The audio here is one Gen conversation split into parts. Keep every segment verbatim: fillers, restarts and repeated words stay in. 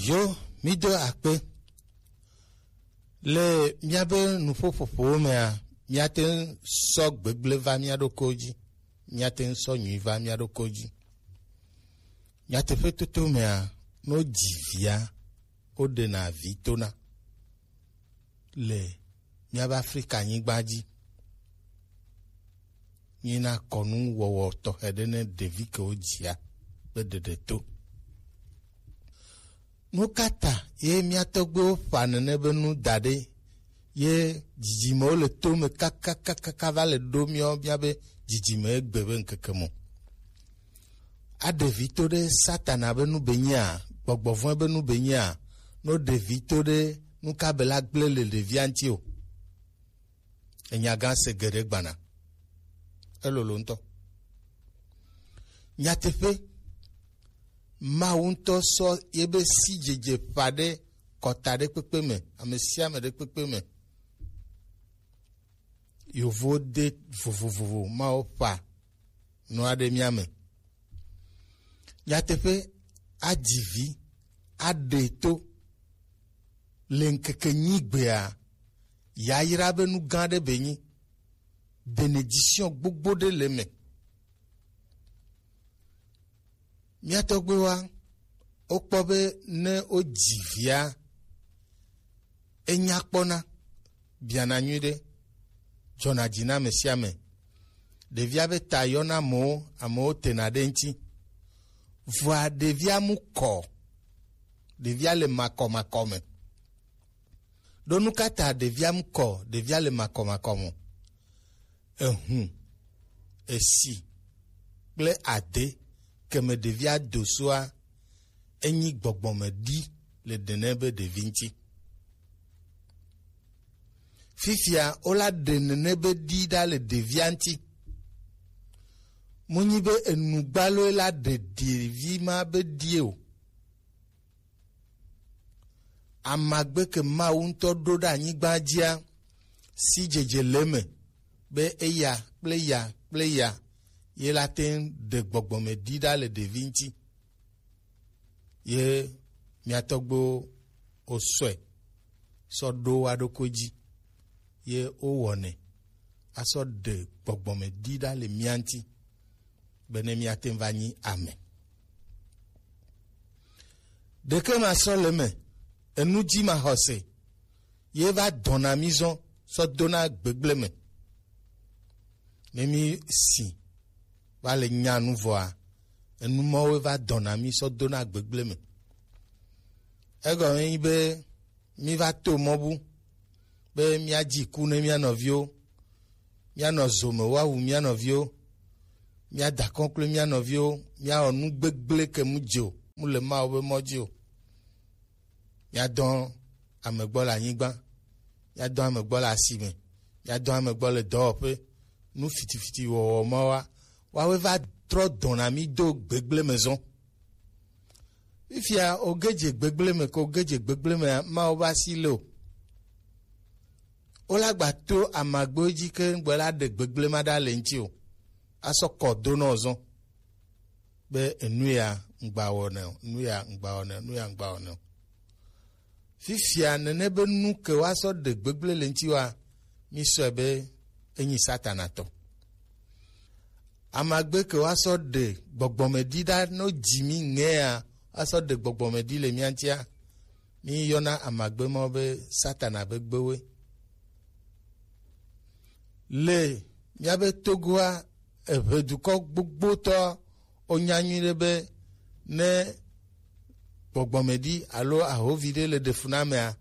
Yo, mído akpe. Le míabe nuƒoƒoƒowo mea, míate ŋu sɔ gbegblẽ va mía ɖokuiwo dzi, míate ŋu sɔ nyui va mía ɖokuiwo dzi. Nyateƒetoto mea, ne wodzi via, woɖena vi tona le míabe Afrika nyigba dzi. Nyina kɔnu wɔwɔ tɔxɛ ɖe ne ɖevi ke wodzia be ɖeɖe to. Nu ka ta ye mía tɔgbuiwo ƒã nene be nu da ɖe ye dzidzimewo le to me kakakakaka va le ɖo míawo míabe dzidzime egbe be ŋkeke me o? Aɖe vi to ɖe Satana be nu be nyea, gbɔgbɔ vɔ̃e be nu be nyea, no ɖe vi to ɖe nu ka be la gblẽ le ɖevia ŋuti o. Enya gã se geɖe gbana. Elolo ŋutɔ. Nyateƒe, Mawu ŋutɔ sɔ yebe sidzedze ƒã ɖe kɔta ɖe kpekpe me, ame sia ame ɖe kpekpe me. Yovo de vovovovo, Mawu ƒã nua ɖe mía me. Nyateƒe, adzi vi, aɖe to le ŋkeke nyigbea, yayra be nu gã ɖe be nyi. Bénédiction gbogbo ɖe le me. Mía tɔgbuiwoa, wokpɔ be ne wodzi via, enya kpɔna, biana nyuiɖe, dzɔna dzi na ame sia ame. Ɖevia be ta yɔna amewo, amewo tena ɖe eŋuti. Vɔa ɖevia mu kɔ, ɖevia le makɔmakɔ me. Ɖo nu ka ta ɖevia mu kɔ, ɖevia le makɔmakɔ me? Ehun, esi kple ade ke me ɖevia do soa, enyi gbɔgbɔme ɖi le nene be ɖevi ŋuti. Fifia wola ɖe nene be ɖi ɖa le ɖevia ŋuti. Munyi be enugbaloe la ɖe ɖevi ma be ɖie o. Amagbe ke Mawu ŋutɔ ɖo ɖe anyigba dzia, sidzedze le eme be eya kple ya kple ya ye la te ŋu ɖe gbɔgbɔme ɖi ɖa le ɖevi ŋuti. Ye mía tɔgbuiwo wosɔe sɔ ɖo wa ɖokui dzi, ye wowɔnɛ asɔ ɖe gbɔgbɔme ɖi ɖa le mía ŋuti, bene míate ŋu va nyi ame. Ɖeke ma sɔ le eme, enu dzi ma xɔse, ye va dɔna mí zɔn sɔ dona gbegble me. Ne mí si va le nya nu vɔa, enu mɔwo va dɔna mí sɔ dona gbegble me. Egɔme nyi be mí va to mɔ bu be míadzi ku ne mía nɔviwo, míanɔ zo me woawu mía nɔviwo, míada kɔnklo mía nɔviwo, míawɔ nu gbegblẽ ke mu dze o, mu le Mawu be mɔ dzi o. Míadɔ ame gbɔ le anyigba, míadɔ ame gbɔ le asime, míadɔ ame gbɔ le dɔwɔƒe, nu fitifiti wɔwɔ ma wa, woawoe va trɔ dɔna mí do gbegblẽ me zɔn. Fifia, oge dze gbegblẽ me, ke oge dze gbegblẽ mea, Mawu be asi le o. Wola gba to amagbewo dzi ke ŋgbe la ɖe gbegblẽ ma ɖa le ŋuti o. Asɔ kɔ do nɔ zɔn be enu ya ŋgba wɔnɛ o, enu ya ŋgba wɔnɛ o, enu ya ŋgba wɔnɛ o. Fifia nene be nu ke woasɔ ɖe gbegblẽ le ŋuti wa, mísɔe be enyi Satana tɔ. Amagbe ke woasɔ ɖe gbɔgbɔme ɖi ɖa no dzi mí ŋea, woasɔ ɖe gbɔgbɔme ɖi le mía ŋutia, míyɔna amagbe mawo be Satana be gbewoe. Le míabe Togoa, eʋedukɔ gbogbotɔ wonya nyuiɖe be ne gbɔgbɔme ɖi alo ahovi ɖe le ɖe fu na amea,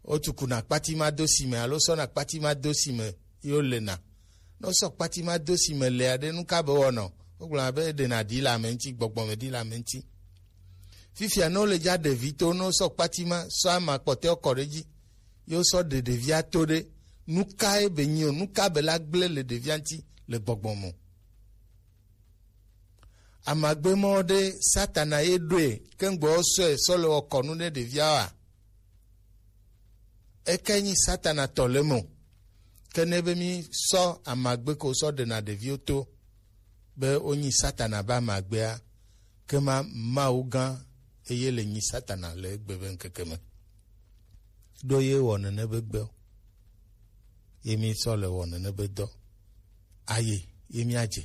wotukuna kpati ma do si me alo sɔna kpati ma do si me ye wolena. Ne wosɔ kpati ma do si me lea ɖe, nu ka be wɔnɔ? Wogblɔna be eɖena ɖi le ame ŋuti, gbɔgbɔme ɖi le ame ŋuti. Fifia ne wole dza ɖe vi to, ne wosɔ kpati ma sɔ ama kpɔtɔewo kɔ ɖe edzi, ye wosɔ ɖe ɖevia to ɖe, nu kae be nyi o? Nu ka be la gblẽ le ɖevia ŋuti le gbɔgbɔ me o? Amagbe mɔ ɖe Satana ye ɖoe, ke ŋgbɔ wosɔe sɔ le wɔ kɔnu ɖe ɖevia wa? Eke nyi Satana tɔ le me o. Ke ne be mí sɔ amagbe ko sɔ ɖena ɖeviwo to be wonyi Satana be amagbea, ke ma Mawu gã eye le nyi Satana le egbe be ŋkeke me. Ɖo ye wɔ nene be gbe o. Ye mi sɔ le wɔ nene be dɔ. Aye, ye mi adze.